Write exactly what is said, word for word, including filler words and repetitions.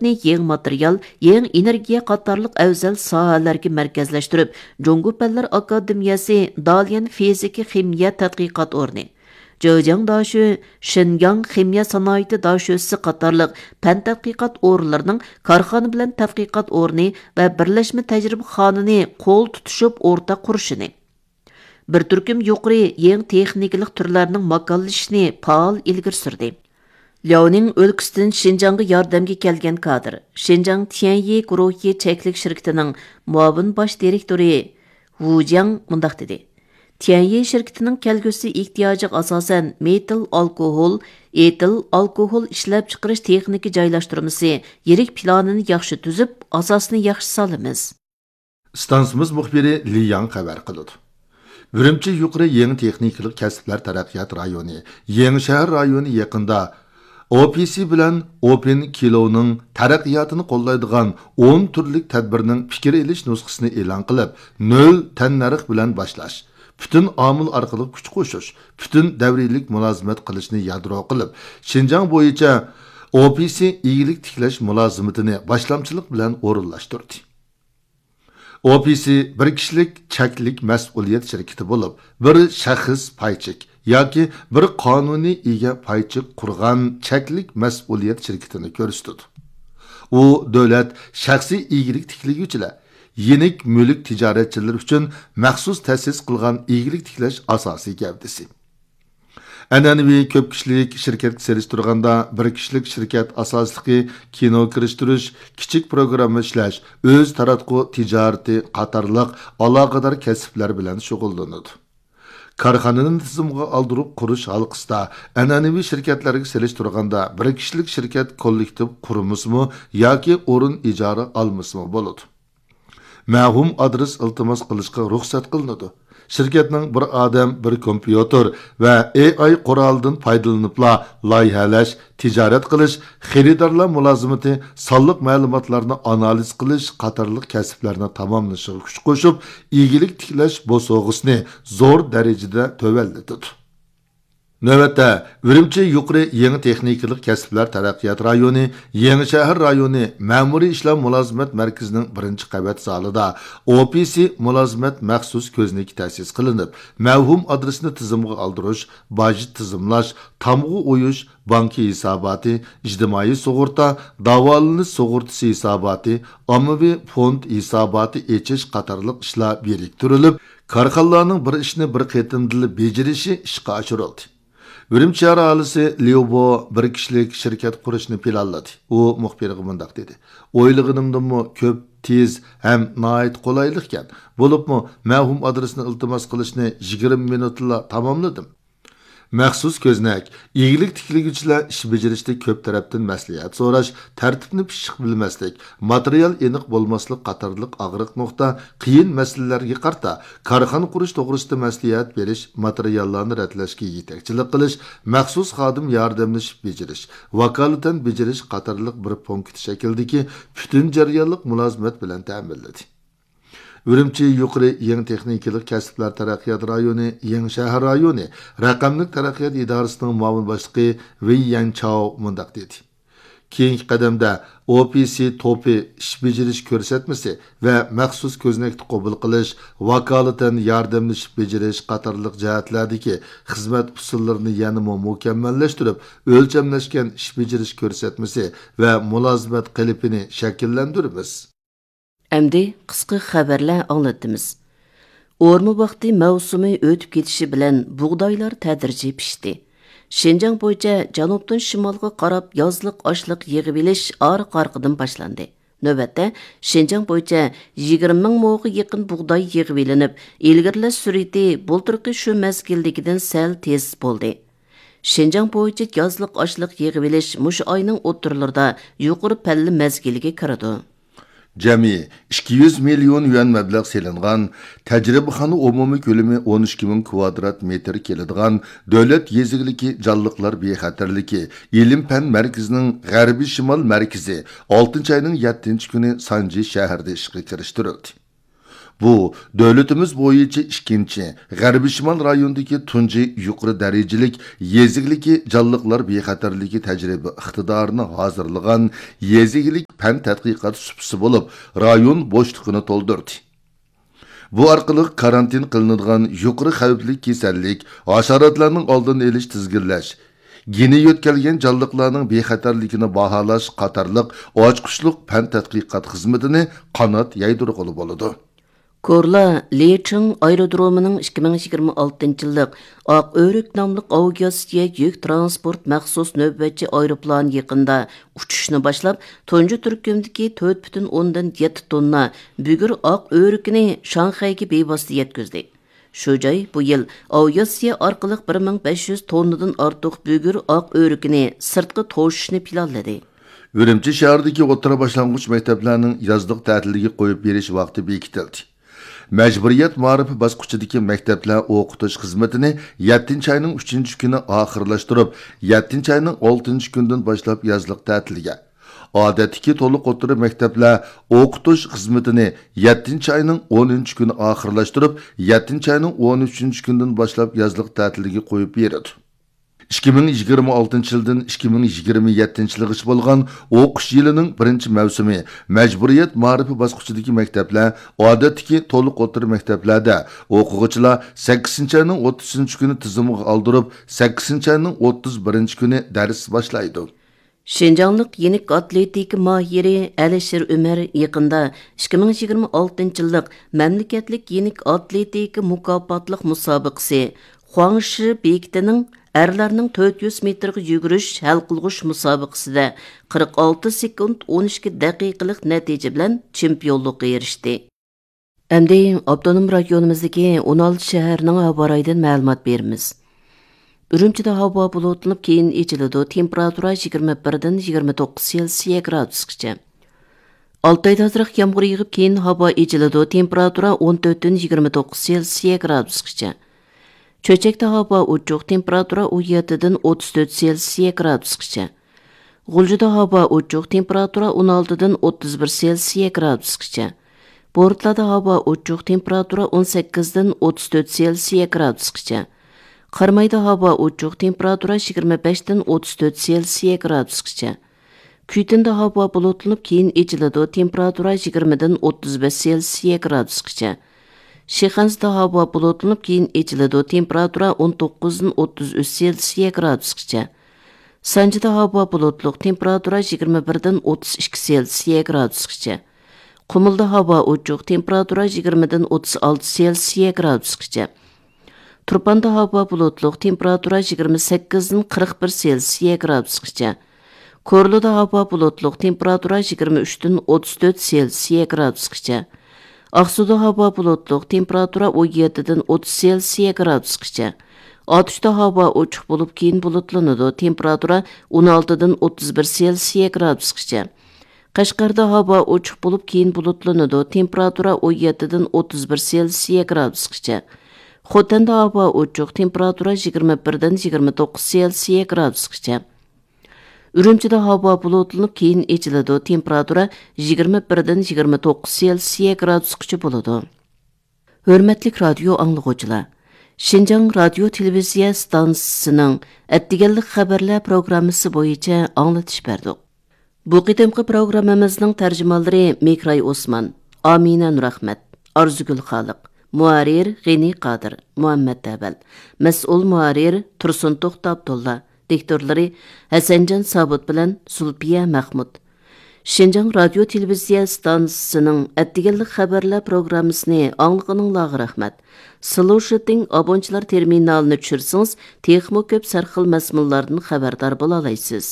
يېڭى ماتېرىيال، يېڭى ئېنېرگىيە قاتارلىق ئەۋزەل ساھەلەرگە مەركەزلەشتۈرۈپ، جۇڭگو پەنلەر ئاكادېمىيەسى، داليەن فىزىكا خىمىيە تەتقىقات ئورنى، جېجياڭ داشۆ، شىنجاڭ خىمىيە سانائىتى داشۆسى قاتارلىق پەن تەتقىقات ئورۇنلىرىنىڭ كارخانا بىلەن تەتقىقات ئورنى ۋە بىرلەشمە تەجرىبىخانىنى قول تۇتۇشۇپ ئورتاق قۇرۇشىنى، بىر تۈركۈم يۇقىرى يېڭى تېخنىكىلىق تۈرلەرنىڭ ماكانلىشىشىنى پائال ئىلگىرى سۈردى. لياۋنىڭ ئۆلكىسىدىن شىنجاڭغا ياردەمگە كەلگەن كادىر، شىنجاڭ تيەنيى گۇرۇھى چەكلىك شىركىتىنىڭ مۇئاۋىن باش دىرېكتورى ۋۇ جياڭ مۇنداق دېدى: تيەنيى شىركىتىنىڭ كەلگۈسى ئېھتىياجىغا ئاساسەن مېتىل ئالكوھول، ئېتىل ئالكوھول ئىشلەپچىقىرىش تېخنىكا جايلاشتۇرمىسى يىرىك پىلانىنى ياخشى تۈزۈپ، ئاساسنى ياخشى سالىمىز. ئىستانسىمىز مۇخبىرى لى ياڭ خەۋەر قىلىدۇ. ئۈرۈمچى يۇقىرى يېڭى تېخنىكىلىق كەسىپلەر تەرەققىيات رايونى، يېڭىشەھەر رايونى يېقىندا ئو پى سى بىلەن ئوپېن كىلوۋنىڭ تەرەققىياتىنى قوللايدىغان ئون تۈرلۈك تەدبىرنىڭ پىكىر ئېلىش نۇسخىسىنى ئېلان قىلىپ، نۆل تەننەرخ بىلەن باشلاش، پۈتۈن ئامىل ئارقىلىق كۈچ قوشۇش، پۈتۈن دەۋرىيلىك مۇلازىمەت قىلىشنى يادرو قىلىپ، شىنجاڭ بويىچە ئو پى سى ئىگىلىك تىكلەش مۇلازىمىتىنى باشلامچىلىق بىلەن ئورۇنلاشتۇردى. ئو پى سى بىر كىشىلىك چەكلىك مەسئۇلىيەت شىركىتى بولۇپ، بىر شەخس پايچېك ياكى بىر قانۇنىي ئىگە پايچېك قۇرغان چەكلىك مەسئۇلىيەت شىركىتىنى كۆرسىتىدۇ. ئۇ دۆلەت شەخسىي ئىگىلىك تىكلىگۈچىلەر، يېنىك مۈلۈك تىجارەتچىلىرى ئۈچۈن مەخسۇس تەسىس قىلغان ئىگىلىك تىكلەش ئاساسىي گەۋدىسى. ئەنئەنىۋى كۆپ كىشىلىك شىركەتكە سېلىشتۇرغاندا، بىر كىشىلىك شىركەت ئاساسلىقى كىنو كىرىشتۈرۈش، كىچىك پروگرامما ئىشلەش، ئۆز تاراتقۇ تىجارىتى قاتارلىق ئالاقىدار كەسىپلەر بىلەن شۇغۇللىنىدۇ. كارخانىنى تىزىمغا ئالدۇرۇپ قۇرۇش ھالقىسىدا ئەنئەنىۋى شىركەتلەرگە سېلىشتۇرغاندا، بىر كىشىلىك شىركەت كوللېكتىپ قۇرمىسىمۇ ياكى ئورۇن ئىجارە ئالمىسىمۇ بولىدۇ. مەۋھۇم ئادرېس ئىلتىماس قىلىشقا رۇخسەت قىلىنىدۇ. شىركەتنىڭ بىر ئادەم، بىر كومپيۇتېر ۋە ئېي ئاي قورالىدىن پايدىلىنىپلا لايىھەلەش، تىجارەت قىلىش، خېرىدارلار مۇلازىمىتى، سانلىق مەلۇماتلارنى ئانالىز قىلىش قاتارلىق كەسىپلەرنى تاماملىشىغا كۈچ قوشۇپ، ئىگىلىك تىكلەش بوسۇغىسىنى زور دەرىجىدە تۆۋەنلىتىدۇ. نۆۋەتتە، ئۈرۈمچى يۇقىرى يېڭى تېخنىكىلىق كەسىپلەر تەرەققىيات رايونى، يېڭى شەھەر رايونى مەمۇرىي ئىشلار مۇلازىمەت مەركىزىنىڭ بىرىنچى قەۋەت زالىدا ئو پى سى مۇلازىمەت مەخسۇس كۆزنىكى تەسىس قىلىنىپ، مەۋھۇم ئادرېسنى تىزىمغا ئالدۇرۇش، باج تىزىملاش، تامغا ئويۇش، بانكا ھېساباتى، ئىجتىمائىي سۇغۇرتا، داۋالىنىش سۇغۇرتىسى ھېساباتى، ئاممىۋى فوند ھېساباتى ئېچىش قاتارلىق ئىشلار بىرىكتۈرۈلۈپ، كارخانىلارنىڭ بىر ئىشنى بىر قېتىمدىلا بېجىرىشى ئىشقا ئاشۇرۇلدى. ئۈرۈمچى شەھەر ئاھالىسى ليۇ بو بىر كىشىلىك شىركەت قۇرۇشنى پىلانلىدى. ئۇ مۇخبىرغا مۇنداق دېدى: ئويلىغىنىمدىنمۇ كۆپ، تېز ھەم ناھايىتى قولايلىقكەن. بولۇپمۇ مەۋھۇم ئادرېسنى ئىلتىماس قىلىشنى يىگىرمە مىنۇتتىلا تاماملىدىم. مەخسۇس كۆزنەك، ئىگىلىك تىكلىگۈچىلەر ئىش بېجىرىشتە كۆپ تەرەپتىن مەسلىھەت سوراش، تەرتىپنى پىششىق بىلمەسلىك، ماتېرىيال ئېنىق بولماسلىق قاتارلىق ئاغرىق نۇقتا، قىيىن مەسىلىلەرگە قارىتا كارخانا قۇرۇش توغرىسىدا مەسلىھەت بېرىش، ماتېرىياللارنى رەتلەشكە يېتەكچىلىك قىلىش، مەخسۇس خادىم ياردەملىشىپ بېجىرىش، ۋاكالىتەن بېجىرىش قاتارلىق بىر پونكىت شەكلىدىكى پۈتۈن جەريانلىق مۇلازىمەت بىلەن تەمىنلىدى. ئۈرۈمچى يۇقىرى يېڭى تېخنىكىلىق كەسىپلەر تەرەققىيات رايونى، يېڭى شەھەر رايونى رەقەملىك تەرەققىيات ئىدارىسىنىڭ مۇئاۋىن باشلىقى ۋېي يەنچاۋ مۇنداق دېدى: كېيىنكى قەدەمدە ئو پى سى توپى ئىش بېجىرىش كۆرسەتمىسى ۋە مەخسۇس كۆزنەكتە قوبۇل قىلىش، ۋاكالىتەن ياردەملىشىپ بېجىرىش قاتارلىق جەھەتلەردىكى خىزمەت ئۇسۇللىرىنى يەنىمۇ مۇكەممەللەشتۈرۈپ، ئۆلچەملەشكەن ئىش بېجىرىش كۆرسەتمىسى ۋە مۇلازىمەت قېلىپىنى شەكىللەندۈرىمىز. ئەمدى قىسقا خەۋەرلەر ئاڭلىتىمىز. ئورما ۋاقتى مەۋسۇمى ئۆتۈپ كېتىشى بىلەن بۇغدايلار تەدرىجىي پىشتى. شىنجاڭ بويىچە جەنۇبتىن شىمالغا قاراپ يازلىق ئاشلىق يىغىۋېلىش ئارقا-ئارقىدىن باشلاندى. نۆۋەتتە شىنجاڭ بويىچە يىگىرمە مىڭ موغا يېقىن بۇغداي يىغىۋېلىنىپ، ئىلگىرىلەش سۈرئىتى بۇلتۇرقى شۇ مەزگىلدىكىدىن سەل تېز بولدى. شىنجاڭ بويىچە يازلىق ئاشلىق يىغىۋېلىش مۇشۇ ئاينىڭ ئوتتۇرىلىرىدا يۇقىرى پەللە مەزگىلىگە كىرىدۇ. جەمئىي ئىككى يۈز مىليون يۈەن مەبلەغ سېلىنغان، تەجرىبىخانا ئومۇمىي كۆلىمى ئون ئىككى مىڭ كۋادرات مېتىر كېلىدىغان دۆلەت يېزا ئىگىلىكى جانلىقلار بىخەتەرلىكى ئىلىم پەن مەركىزىنىڭ غەربىي شىمال مەركىزى ئالتىنچى ئاينىڭ يەتتىنچى كۈنى سانجى شەھىرىدە ئىشقا كىرىشتۈرۈلدى. بۇ، دۆلىتىمىز بويىچە ئىككىنچى، غەربىي شىمال رايونىدىكى تۇنجى يۇقىرى دەرىجىلىك يېزا ئىگىلىكى جانلىقلار بىخەتەرلىكى تەجرىبە ئىقتىدارىنى ھازىرلىغان يېزا ئىگىلىك پەن تەتقىقات سۇپىسى بولۇپ، رايون بوشلۇقىنى تولدۇردى. بۇ ئارقىلىق كارانتىن قىلىنىدىغان يۇقىرى خەۋپلىك كېسەللىك، ھاشاراتلارنىڭ ئالدىنى ئېلىش، تىزگىنلەش، گېنى يۆتكەلگەن جانلىقلارنىڭ بىخەتەرلىكىنى باھالاش قاتارلىق ئاچقۇچلۇق پەن تەتقىقات خىزمىتىنى قانات يايدۇرغىلى بولىدۇ. كورلا لىچىڭ ئايرودرومىنىڭ ئىككى مىڭ يىگىرمە ئالتىنچى يىللىق ئاق ئۆرۈك ناملىق ئاۋىئاتسىيە يۈك ترانسپورت مەخسۇس نۆۋەتچى ئايروپىلانى يېقىندا ئۇچۇشنى باشلاپ، تۇنجى تۈركۈمدىكى تۆت پۈتۈن ئوندىن يەتتە توننا بۈگۈر ئاق ئۆرۈكىنى شاڭخەيگە بىۋاسىتە يەتكۈزدى. شۇ جاي بۇ يىل ئاۋىئاتسىيە ئارقىلىق بىر مىڭ بەش يۈز توننىدىن ئارتۇق بۈگۈر ئاق ئۆرۈكىنى سىرتقا توشۇشنى پىلانلىدى. ئۈرۈمچى شەھىرىدىكى ئوتتۇرا باشلانغۇچ مەكتەپلەرنىڭ يازلىق تەتىلگە قويۇپ بېرىش ۋاقتى بېكىتىلدى. مەجبۇرىيەت مائارىپى باسقۇچىدىكى مەكتەپلەر ئوقۇتۇش خىزمىتىنى يەتتىنچى ئاينىڭ ئۈچىنچى كۈنى ئاخىرلاشتۇرۇپ، يەتتىنچى ئاينىڭ ئالتىنچى كۈنىدىن باشلاپ يازلىق تەتىلگە، ئادەتتىكى تولۇق ئوتتۇرا مەكتەپلەر ئوقۇتۇش خىزمىتىنى يەتتىنچى ئاينىڭ ئونىنچى كۈنى ئاخىرلاشتۇرۇپ، يەتتىنچى ئاينىڭ ئون ئۈچىنچى كۈنىدىن باشلاپ يازلىق تەتىلگە قويۇپ بېرىدۇ. ئىككى مىڭ يىگىرمە ئالتىنچى يىلدىن ئىككى مىڭ يىگىرمە يەتتىنچى يىلغىچە بولغان ئوقۇش يىلىنىڭ بىرىنچى مەۋسۇمى مەجبۇرىيەت مائارىپى باسقۇچىدىكى مەكتەپلەر، ئادەتتىكى تولۇق ئوتتۇرا مەكتەپلەردە ئوقۇغۇچىلار سەككىزىنچى ئاينىڭ ئوتتۇزىنچى كۈنى تىزىمغا ئالدۇرۇپ، سەككىزىنچى ئاينىڭ ئوتتۇز بىرىنچى كۈنى دەرس باشلايدۇ. شىنجاڭلىق يېنىك ئاتلېتىكا ماھىرى ئەلىشىر ئۆمەر يېقىندا ئىككى مىڭ يىگىرمە ئالتىنچى يىللىق مەملىكەتلىك يېنىك ئاتلېتىكا مۇكاپاتلىق مۇسابىقىسى خۇاڭشى بېكىتىنىڭ ئەرلەرنىڭ تۆت يۈز مېتىرغا يۈگۈرۈش ھەل قىلغۇچ مۇسابىقىسىدە قىرىق ئالتە سېكۇنت ئون ئىككى دەقىقىلىق نەتىجە بىلەن چېمپىيونلۇققا ئېرىشتى. ئەمدى ئاپتونوم رايونىمىزدىكى ئون ئالتە شەھەرنىڭ ھاۋا رايىدىن مەلۇمات بېرىمىز. ئۈرۈمچىدە ھاۋا بۇلۇتلىنىپ، كېيىن ئېچىلىدۇ، تېمپېراتۇرا يىگىرمە بىردىن يىگىرمە توققۇز سېلسىيە گرادۇسقىچە. ئالتايدا ئازراق يامغۇر يېغىپ، كېيىن ھاۋا ئېچىلىدۇ، تېمپېراتۇرا ئون تۆتتىن يىگىرمە توققۇز سېلسىيە گرادۇسقىچە. چۆچەكتە ھاۋا ئوچۇق، تېمپېراتۇرا ئون يەتتىدىن ئوتتۇز تۆت سېلسىيە گرادۇسقىچە. غۇلجىدا ھاۋا ئوچۇق، تېمپېراتۇرا ئون ئالتىدىن ئوتتۇز بىر سېلسىيە گرادۇسقىچە. بورتالادا ھاۋا ئوچۇق، تېمپېراتۇرا ئون سەككىزدىن ئوتتۇز تۆت سېلسىيە گرادۇسقىچە. قارامايدا ھاۋا ئوچۇق، تېمپېراتۇرا يىگىرمە بەشتىن ئوتتۇز تۆت سېلسىيە گرادۇسقىچە. كۈيتىندا ھاۋا بۇلۇتلىنىپ، كېيىن ئېچىلىدۇ، تېمپېراتۇرا يىگىرمىدىن ئوتتۇز بەش سېلسىيە گرادۇسقىچە. شىخەنزىدە ھاۋا بۇلۇتلىنىپ، كېيىن ئېچىلىدۇ، تېمپېراتۇرا ئون توققۇزدىن ئوتتۇز ئۈچ سېلسىيە گرادۇسقىچە. سانجىدا ھاۋا بۇلۇتلۇق، تېمپېراتۇرا يىگىرمە بىردىن ئوتتۇز ئىككى سېلسىيە گرادۇسقىچە. قۇمۇلدا ھاۋا ئوچۇق، تېمپېراتۇرا يىگىرمىدىن ئوتتۇز ئالتە سېلسىيە گرادۇسقىچە. تۇرپاندا ھاۋا بۇلۇتلۇق، تېمپېراتۇرا يىگىرمە سەككىزدىن قىرىق بىر سېلسىيە گرادۇسقىچە. كورلىدا ھاۋا بۇلۇتلۇق، تېمپېراتۇرا يىگىرمە ئۈچتىن ئوتتۇز تۆت سېلسىيە گرادۇسقىچە. ئاقسۇدا ھاۋا بۇلۇتلۇق، تېمپېراتۇرا ئون يەتتىدىن ئوتتۇز سېلسىيە گرادۇسقىچە. ئاتۇشتا ھاۋا ئوچۇق بولۇپ، كېيىن بۇلۇتلىنىدۇ، تېمپېراتۇرا ئون ئالتىدىن ئوتتۇز بىر سېلسىيە گرادۇسقىچە. قەشقەردە ھاۋا ئوچۇق بولۇپ، كېيىن بۇلۇتلىنىدۇ، تېمپېراتۇرا ئون يەتتىدىن ئوتتۇز بىر سېلسىيە گرادۇسقىچە. خوتەندە ھاۋا ئوچۇق، تېمپېراتۇرا يىگىرمە بىردىن يىگىرمە توققۇز سېلسىيە گرادۇسقىچە. ئۈرۈمچىدە ھاۋا بۇلۇتلىنىپ، كېيىن ئېچىلىدۇ، تېمپېراتۇرا يىگىرمە بىردىن يىگىرمە توققۇز سېلسىيە گرادۇسقىچە بولىدۇ. ھۆرمەتلىك رادىيو ئاڭلىغۇچىلار! شىنجاڭ رادىيو تېلېۋىزىيە ئىستانسىسىنىڭ ئەتىگەنلىك خەۋەرلەر پروگراممىسى بويىچە ئاڭلىتىش بەردۇق. بۇ قېتىمقى پروگراممىمىزنىڭ تەرجىمانلىرى مېكراي ئوسمان، ئامىنە نۇرئەخمەت، ئارزۇگۈل خالىق، مۇھەررىر غېنى قادىر، مۇھەممەت ئەۋەل، مەسئۇل مۇھەررىر تۇرسۇن توختى ئابدۇللا، دىكتورلىرى ھەسەنجان سابىت بىلەن زۇلپىيە مەخمۇت. شىنجاڭ رادىيو تېلېۋىزىيە ئىستانسىسىنىڭ ئەتىگەنلىك خەۋەرلەر پروگراممىسىنى ئاڭلىغىنىڭلارغا رەھمەت. سلوشىتىڭ ئابونچىلار تېرمىنالىنى چۈشۈرسىڭىز، تېخىمۇ كۆپ سەرخىل مەزمۇنلاردىن خەۋەردار بولالايسىز.